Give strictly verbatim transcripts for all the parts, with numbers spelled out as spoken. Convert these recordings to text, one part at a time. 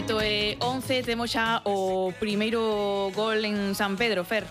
oito e once, temos xa o primeiro gol en San Pedro, Fer.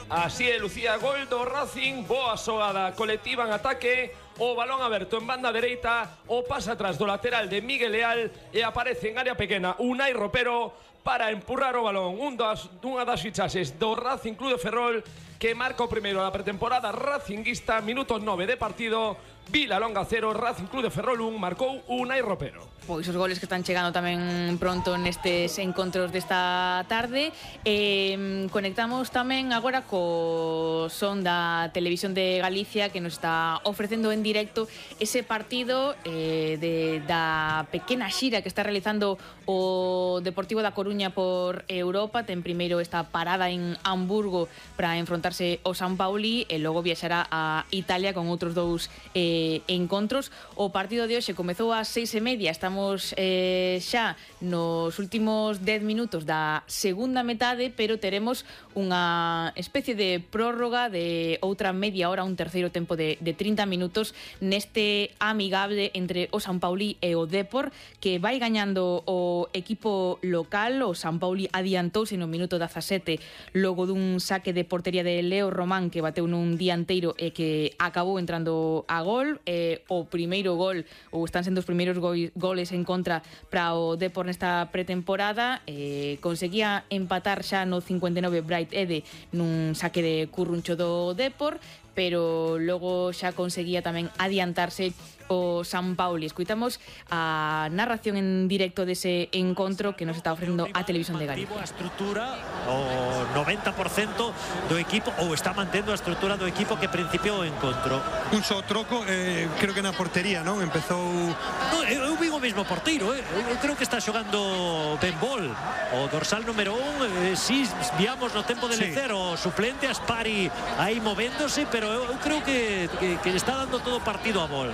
Así é, Lucía, gol do Racing, boa xogada colectiva en ataque, o balón aberto en banda dereita, o pasa atrás do lateral de Miguel Leal e aparece en área pequena Unai Ropero para empurrar o balón. Un das, unha das fichaxes do Racing Club de Ferrol que marca o primeiro da pretemporada racinguista, minuto nove de partido, Vilalonga cero, Racing Club de Ferrol un, marcou Unai Ropero. Pois os goles que están chegando tamén pronto nestes encontros desta tarde. eh, Conectamos tamén agora co son da Televisión de Galicia, que nos está ofrecendo en directo ese partido eh, de, da pequena xira que está realizando o Deportivo da Coruña por Europa. Ten primeiro esta parada en Hamburgo para enfrontarse ao San Pauli e logo viaxará a Italia con outros dous eh, encontros. O partido de hoxe comezou ás seis e media. Estamos eh, xa nos últimos dez minutos da segunda metade, pero teremos unha especie de prórroga de outra media hora, un terceiro tempo de, de trinta minutos neste amigable entre o San Pauli e o Depor, que vai gañando o equipo local. O San Pauli adiantouse no minuto dezasete logo dun saque de portería de Leo Román que bateu nun dianteiro e que acabou entrando a gol. Eh, o primeiro gol, ou están sendo os primeiros go goles en contra para o Depor nesta pretemporada. eh, conseguía empatar xa no cincuenta e nove Bright Ede nun saque de curruncho do Depor, pero logo xa conseguía tamén adiantarse o San Pauli. Escuitamos a narración en directo dese encontro que nos está ofrecendo a Televisión de Galicia. A estrutura, o noventa por cento do equipo, ou está mantendo a estrutura do equipo que principiou o encontro. Un só troco, eh, creo que na portería, non? Empezou... No, eu vi o mesmo porteiro, eh? eu creo que está xogando ben bol. O dorsal número un, eh, si viamos no tempo de lecer, sí. O suplente Aspari aí movéndose, pero eu, eu creo que, que, que está dando todo partido a bol.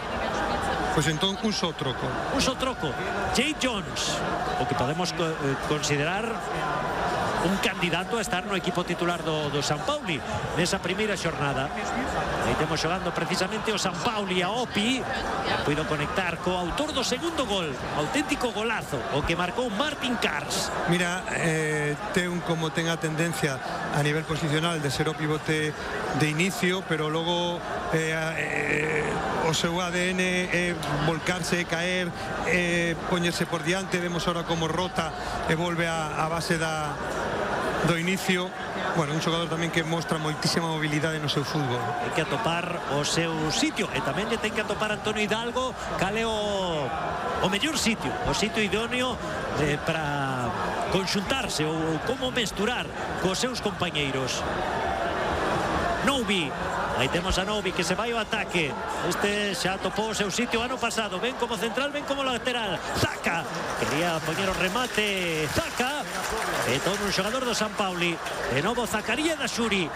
Pois entón un só troco. Un só troco. Jay Jones, o que podemos co eh, considerar un candidato a estar no equipo titular do, do San Pauli nesa primeira xornada. Aí temos xogando precisamente o San Pauli a Opi. Puido conectar co autor do segundo gol, auténtico golazo, o que marcou Martin Kars. Mira, eh, ten como ten a tendencia a nivel posicional de ser o pivote de inicio, pero logo eh, eh, o seu A D N é volcarse, caer, eh, poñerse por diante. Vemos ahora como rota e volve a, a base da do inicio. Bueno, un xogador tamén que mostra moitísima mobilidade no seu fútbol. Hai que atopar o seu sitio e tamén lle ten que atopar Antonio Hidalgo cal é o, o mellor sitio, o sitio idóneo eh, para conxuntarse ou como mesturar cos seus compañeiros. Noubi, aí temos a Noubi que se vai ao ataque. Este xa topou o seu sitio ano pasado. Ven como central, ven como lateral. Zaka, quería poñer o remate. Zaka, e todo un xogador do San Pauli. De novo Zacaría da Xuri,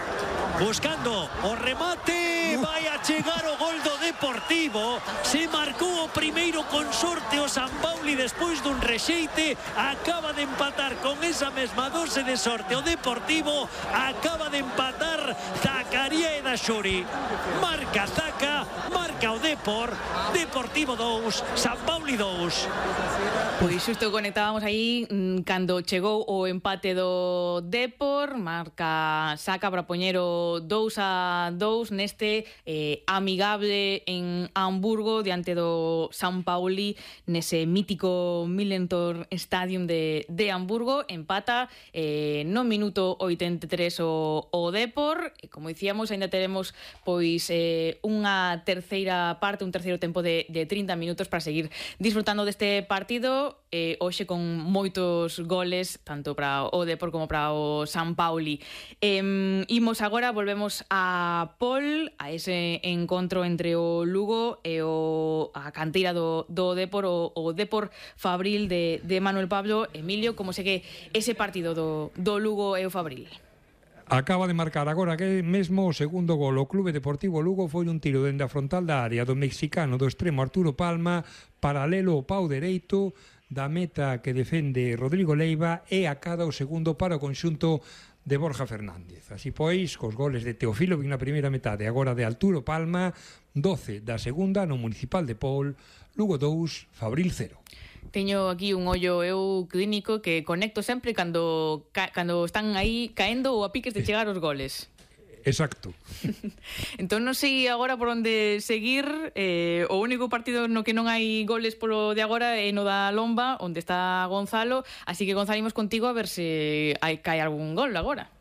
buscando o remate. Vai a chegar o gol do Deportivo. Se marcou o primeiro con sorte o San Pauli despois dun rexeite. Acaba de empatar con esa mesma dose de sorte o Deportivo. Acaba de empatar Zacaría da Xuri. Marca Zaka, marca o Depor. Deportivo dous, San Pauli dous. Pois xusto conectábamos aí cando chegou o empate do Depor. Marca Zaka para poñer o dous a dous neste eh, amigable en Hamburgo diante do San Pauli nese mítico Millentor Stadium de, de Hamburgo. Empata eh, no minuto oitenta e tres o, o Depor e como dicíamos ainda teremos pois eh, unha terceira parte, un terceiro tempo de, de trinta minutos para seguir disfrutando deste partido. Eh, hoxe con moitos goles tanto para o Depor como para o San Pauli. Eh, imos agora, volvemos a Pol, a ese encontro entre o Lugo e o a canteira do, do Depor, o, o Depor Fabril de, de Manuel Pablo. Emilio, como segue ese partido do, do Lugo e o Fabril? Acaba de marcar agora que mesmo o segundo gol. O Clube Deportivo Lugo foi un tiro dende a frontal da área do mexicano do extremo Arturo Palma, paralelo ao pau dereito da meta que defende Rodrigo Leiva e acada o segundo para o conxunto de Borja Fernández. Así pois, cos goles de Teofilo na primeira metade, agora de Arturo Palma, doce da segunda no Municipal de Pol, Lugo dous, Fabril cero. Teño aquí un ollo eu clínico que conecto sempre cando, ca, cando están aí caendo ou a piques de chegar os goles. Exacto. Entón non sei agora por onde seguir. eh, O único partido no que non hai goles polo de agora é no da Lomba, onde está Gonzalo. Así que Gonzalo, imos contigo a ver se hai, cae algún gol agora.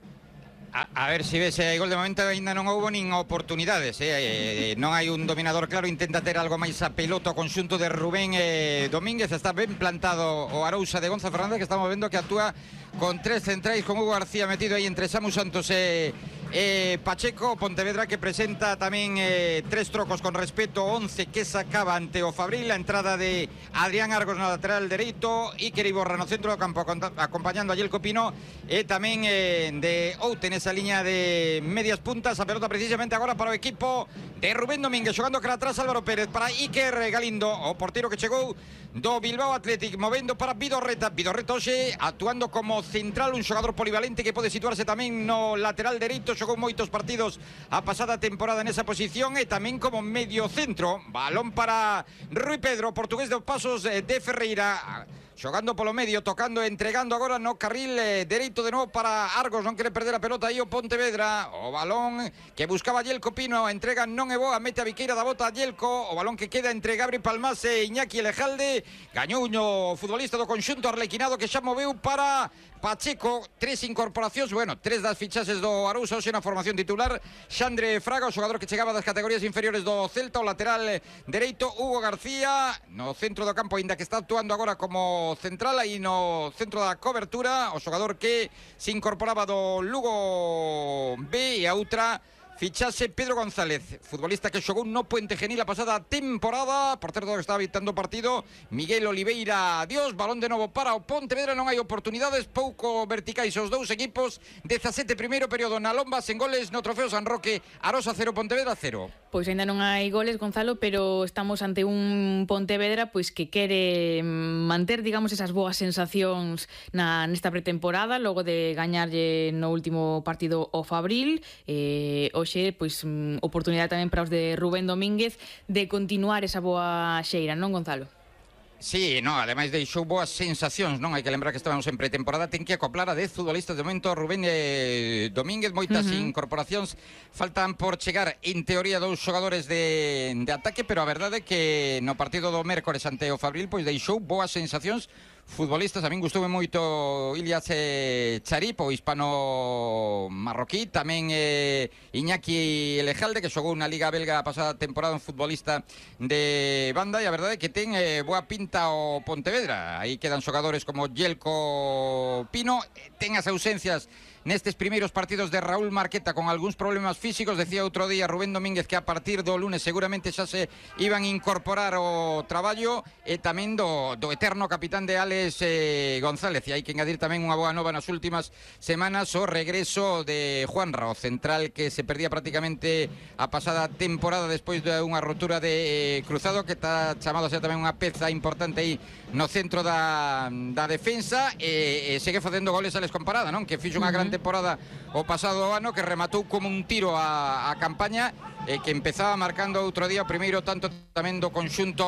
A, a ver se ves, hai gol de momento ainda non houbo nin oportunidades, eh? Eh, non hai un dominador claro, intenta ter algo máis a pelota o conxunto de Rubén eh, Domínguez, está ben plantado o Arousa de Gonza Fernández, que estamos vendo que actúa con tres centrais, con Hugo García metido aí entre Samu Santos e eh, Pacheco. Pontevedra que presenta tamén eh, tres trocos con respeto, once que sacaba ante o Fabril, a entrada de Adrián Argos no lateral dereito, Iker Iborra no centro do campo acompañando a Yelko Pino, e tamén eh, de Oute nesa liña de medias puntas. A pelota precisamente agora para o equipo de Rubén Domínguez, xogando cara atrás Álvaro Pérez para Iker Galindo, o portero que chegou do Bilbao Athletic, movendo para Vidorreta. Vidorreta hoxe actuando como central, un xogador polivalente que pode situarse tamén no lateral dereito, xogou moitos partidos a pasada temporada nesa posición, e tamén como medio centro. Balón para Rui Pedro, portugués de Pasos de Ferreira, xogando polo medio, tocando, entregando agora no carril eh, dereito de novo para Argos. Non quere perder a pelota aí o Pontevedra, o balón que buscaba Yelko Pino, a entrega non é boa, mete a Viqueira da bota a Yelko, o balón que queda entre Gabri Palmas e Iñaki Elejalde. Gañou o futbolista do conxunto arlequinado, que xa moveu para Pacheco. Tres incorporacións, bueno, tres das fichaxes do Arousa hoxe na formación titular: Xandre Fraga, o xogador que chegaba das categorías inferiores do Celta, o lateral dereito Hugo García no centro do campo, ainda que está actuando agora como central aí no centro da cobertura, o xogador que se incorporaba do Lugo B. E a outra fichase Pedro González, futbolista que xogou no Puente Genil a pasada temporada, por certo que está habitando o partido. Miguel Oliveira, adiós, balón de novo para o Pontevedra, non hai oportunidades, pouco verticais os dous equipos. dezasete primeiro período na Lomba, sen goles no Trofeo San Roque. Arosa cero, Pontevedra cero. Pois ainda non hai goles, Gonzalo, pero estamos ante un Pontevedra pois que quere manter, digamos, esas boas sensacións na nesta pretemporada, logo de gañarlle no último partido o Fabril. eh, Hoxe, pois, oportunidade tamén para os de Rubén Domínguez de continuar esa boa xeira, non, Gonzalo? Sí, no, ademais deixou boas sensacións, non? Hai que lembrar que estábamos en pretemporada, ten que acoplar a dez futbolistas de momento. Rubén eh, Domínguez, moitas uh-huh. incorporacións, faltan por chegar en teoría dous xogadores de, de ataque, pero a verdade é que no partido do mércores ante o Fabril pois deixou boas sensacións futbolistas. A min gustoume moito Ilias eh, Charip, o hispano-marroquí, tamén eh, Iñaki Elejalde, que xogou na Liga Belga a pasada temporada, un futbolista de banda, e a verdade é que ten eh, boa pinta o Pontevedra. Aí quedan xogadores como Yelko Pino, ten as ausencias nestes primeiros partidos de Raúl Marqueta con algúns problemas físicos. Decía outro día Rubén Domínguez que a partir do lunes seguramente xa se iban a incorporar o traballo, e tamén do, do eterno capitán de Alex eh, González. E hai que engadir tamén unha boa nova nas últimas semanas, o regreso de Juanra, o central que se perdía prácticamente a pasada temporada despois de unha rotura de eh, cruzado, que está chamado a ser tamén unha peza importante aí no centro da, da defensa, e, e segue facendo goles Alex Comparada, non? Que fixo unha gran temporada o pasado ano, que rematou como un tiro a, a campaña, e que empezaba marcando outro día o primeiro tanto tamén do conxunto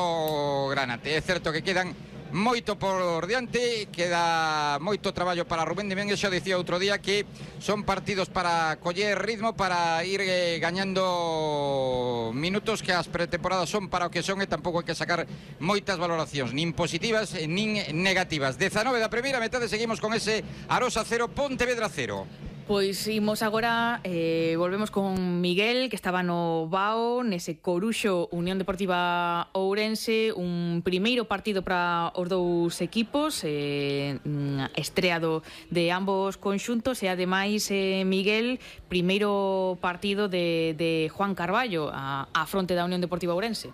granate. É certo que quedan moito por diante, queda moito traballo para Rubén Domínguez. Xa dicía outro día que son partidos para coller ritmo, para ir eh, gañando minutos, que as pretemporadas son para o que son, e tampouco hai que sacar moitas valoracións, nin positivas nin negativas. dezanove da primeira metade, seguimos con ese Arosa cero, Pontevedra cero. Pois imos agora, eh, volvemos con Miguel, que estaba no Bao, nese Coruxo Unión Deportiva Ourense, un primeiro partido para os dous equipos, eh, estreado de ambos conxuntos, e ademais, eh, Miguel, primeiro partido de, de Juan Carballo a, a fronte da Unión Deportiva Ourense.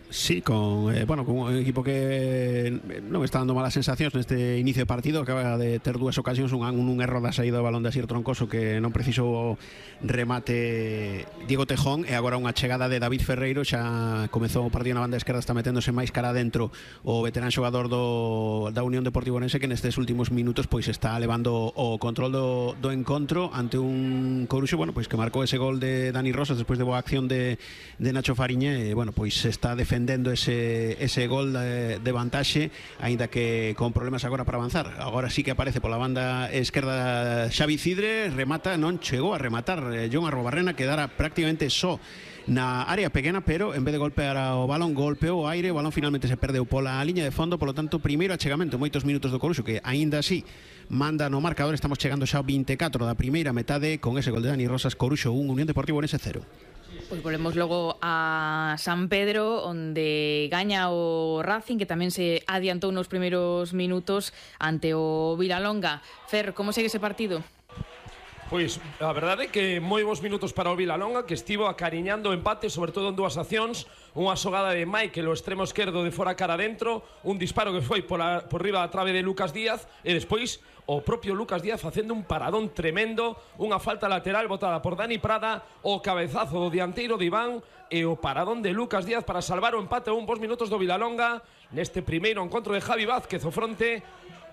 Sí, con, eh, bueno, con un equipo que non está dando malas sensacións neste inicio de partido. Acaba de ter dúas ocasións, un, un erro da saída do balón de Asier Troncoso, que non precisou remate Diego Tejón, e agora unha chegada de David Ferreiro. Xa comezou o partido na banda esquerda, está meténdose máis cara adentro o veterán xogador do, da Unión Deportiva Ourense, que nestes últimos minutos pois está levando o control do, do encontro ante un Coruxo, bueno, pois que marcou ese gol de Dani Rosas despois de boa acción de, de Nacho Fariñe, e bueno, pois está defendendo defendendo ese, ese gol de, de vantaxe, aínda que con problemas agora para avanzar. Agora sí que aparece pola banda esquerda Xavi Cidre, remata, non chegou a rematar eh, Jon Arrobarrena, quedara prácticamente só na área pequena, pero en vez de golpear o balón, golpeou o aire, o balón finalmente se perdeu pola liña de fondo, polo tanto, primeiro achegamento, moitos minutos do Coruxo, que aínda así manda no marcador. Estamos chegando xa ao vinte e catro da primeira metade con ese gol de Dani Rosas. Coruxo un, Unión Deportivo Ourense cero. Pois volvemos logo a San Pedro, onde gaña o Racing, que tamén se adiantou nos primeiros minutos ante o Vilalonga. Fer, como segue ese partido? Pois a verdade é que moi bons minutos para o Vilalonga, que estivo acariñando o empate, sobre todo en dúas accións. Unha xogada de Michael, o extremo esquerdo de fora cara dentro, un disparo que foi por, a, por riba da trave de Lucas Díaz, e despois o propio Lucas Díaz facendo un paradón tremendo, unha falta lateral botada por Dani Prada, o cabezazo do dianteiro de Iván e o paradón de Lucas Díaz para salvar o empate a un bons minutos do Vilalonga neste primeiro encontro de Javi Vázquez, o fronte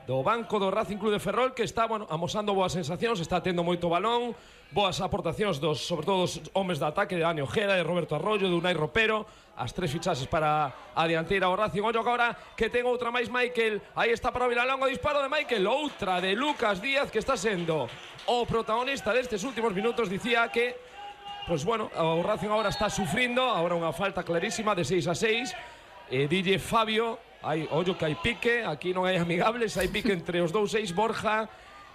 do banco do Racing Club de Ferrol, que está, bueno, amosando boas sensacións, está tendo moito balón, boas aportacións dos, sobre todo dos homes de ataque, de Dani Ojeda, de Roberto Arroyo, de Unai Ropero, as tres fichaxes para a dianteira o Racing. Ollo agora que ten outra máis Michael, aí está para o Vilalonga, o disparo de Michael, outra de Lucas Díaz, que está sendo o protagonista destes últimos minutos. Dicía que, pues bueno, o Racing agora está sufrindo, agora unha falta clarísima de seis a seis, e dille Fabio, hai, ollo que hai pique, aquí non hai amigables, hai pique entre os dous seis, Borja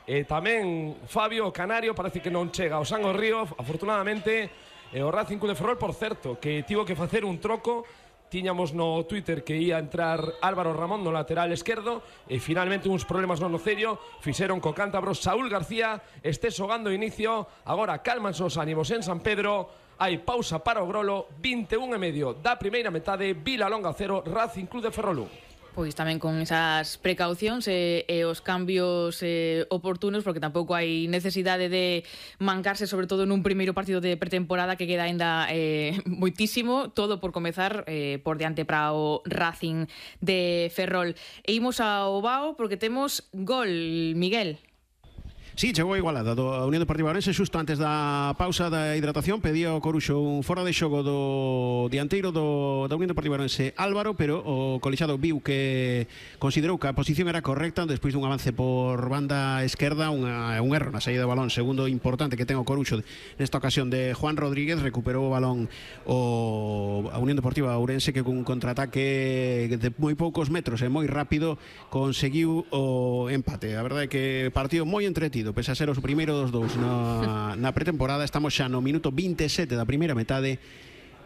e tamén Fabio, o Canario, parece que non chega ao San Río, afortunadamente. E o Racing Club de Ferrol, por certo, que tivo que facer un troco. Tiñamos no Twitter que ia entrar Álvaro Ramón no lateral esquerdo, e finalmente uns problemas no nocello fixeron co cántabro Saúl García este xogando inicio. Agora calmanse os ánimos en San Pedro, hai pausa para o Grolo, vinte e un e medio da primeira metade, Vilalonga cero, Racing Club de Ferrol un. Pois tamén con esas precaucións e, e os cambios eh, oportunos, porque tampouco hai necesidade de mancarse, sobre todo nun primeiro partido de pretemporada que queda aínda eh, moitísimo, todo por comezar eh, por diante para o Racing de Ferrol. E imos ao Bao porque temos gol, Miguel. Sí, chegou a igualada do Unión Deportiva Ourense xusto antes da pausa da hidratación. Pedía o Coruxo un fora de xogo do dianteiro do, da Unión Deportiva Ourense, Álvaro, pero o colexado viu que considerou que a posición era correcta despois dun avance por banda esquerda, unha, un erro na saída do balón, segundo importante que ten o Coruxo nesta ocasión de Juan Rodríguez. Recuperou o balón o a Unión Deportiva Ourense, que cun contraataque de moi poucos metros e moi rápido conseguiu o empate. A verdade é que partido moi entretido, pese a ser os primeiros dos dous na, na pretemporada. Estamos xa no minuto vinte e sete da primeira metade.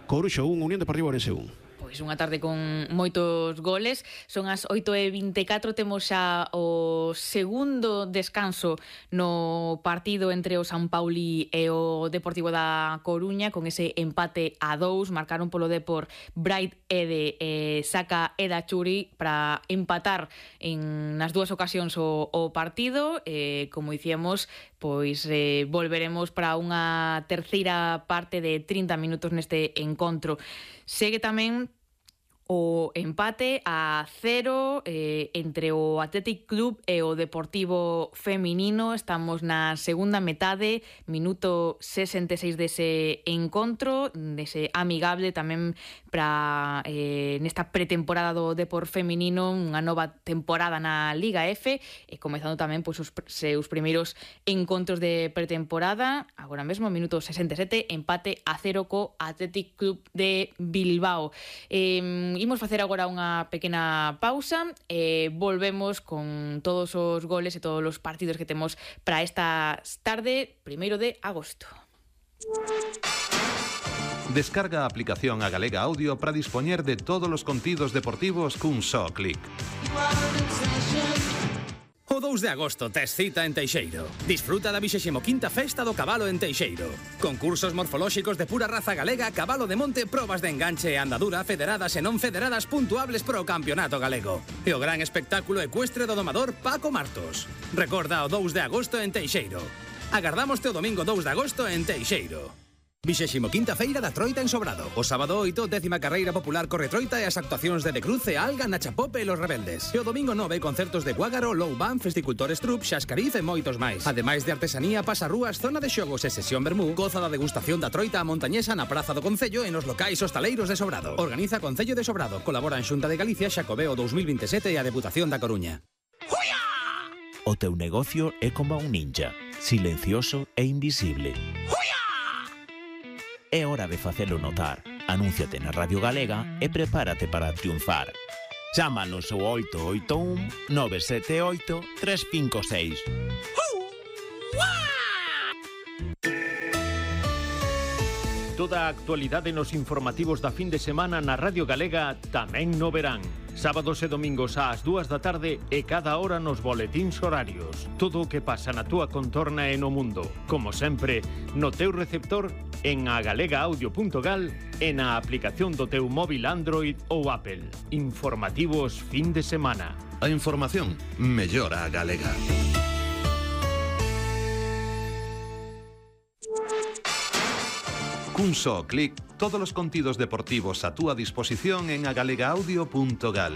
Coruxo un, Unión Deportiva Ourense un. Pois unha tarde con moitos goles. Son as oito e vinte e catro, temos xa o segundo descanso no partido entre o San Pauli e o Deportivo da Coruña, con ese empate a dous. Marcaron polo Depor Bright Ede e Saka Eda Churi para empatar en nas dúas ocasións o, o partido. E, como dicíamos, pois eh, volveremos para unha terceira parte de trinta minutos neste encontro. Segue tamén o empate a cero eh, entre o Athletic Club e o Deportivo Feminino. Estamos na segunda metade, minuto sesenta e seis dese encontro, dese amigable tamén para eh, nesta pretemporada do Depor Feminino, unha nova temporada na Liga F, e comezando tamén pois, os seus primeiros encontros de pretemporada. Agora mesmo, minuto sesenta e sete, empate a cero co Athletic Club de Bilbao. Eh, imos facer agora unha pequena pausa e volvemos con todos os goles e todos os partidos que temos para esta tarde, primeiro de agosto. Descarga a aplicación a Galega Audio para dispoñer de todos os contidos deportivos cun só clic. O dous de agosto tes cita en Teixeiro. Disfruta da vixésimo quinta Festa do Cabalo en Teixeiro. Concursos morfolóxicos de pura raza galega, cabalo de monte, probas de enganche e andadura, federadas e non federadas puntuables pro campeonato galego. E o gran espectáculo ecuestre do domador Paco Martos. Recorda o dous de agosto en Teixeiro. Agardámoste o domingo dous de agosto en Teixeiro. vixésimo quinta feira da Troita en Sobrado. O sábado oito, décima carreira popular corre Troita e as actuacións de De Cruz e Alga, Nacha Pope e Los Rebeldes. E o domingo nove, concertos de Guágaro, Low Band, Festicultores Trup, Xascariz e moitos máis. Ademais de artesanía, pasarrúas, zona de xogos e sesión vermú, goza da degustación da Troita a montañesa na Praza do Concello e nos locais hostaleiros de Sobrado. Organiza Concello de Sobrado. Colaboran Xunta de Galicia, Xacobeo dous mil vinte e sete e a Deputación da Coruña. O teu negocio é como un ninja, silencioso e invisible. É hora de facelo notar. Anúnciate na Radio Galega e prepárate para triunfar. Chámanos ao oito oito un, nove sete oito, tres cinco seis. Toda a actualidade nos informativos da fin de semana na Radio Galega tamén no verán. Sábados e domingos ás dúas da tarde e cada hora nos boletíns horarios. Todo o que pasa na túa contorna e no mundo. Como sempre, no teu receptor, en agalega-audio punto gal e na aplicación do teu móvil Android ou Apple. Informativos fin de semana. A información mellora a galega. Cun só clic, todos os contidos deportivos a túa disposición en agalega audio punto gal.